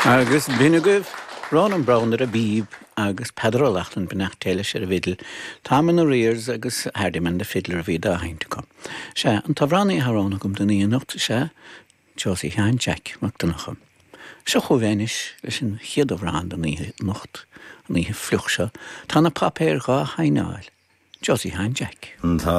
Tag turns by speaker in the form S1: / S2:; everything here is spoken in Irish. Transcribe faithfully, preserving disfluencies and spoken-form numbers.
S1: Agus b'in agaibh Ronan Browne ar an bpíb agus Peadar Ó Lochlainn beannacht Dé leis ar an bhfidil, Tom in Arrears agus Hardiman the Fiddler a bhí dá sheinnt acu. Sea, an t-amhránaí atá roghnaithe agam don oíche anocht sea Josie Sheáin Jeaic Mac Donncha. Seo chugaibh é anois leis an chéad amhrán don oíche anocht, an oíche fliuch seo, tá na páipéir dhá shaighneáil. Josie Sheáin Jeaic.
S2: Tá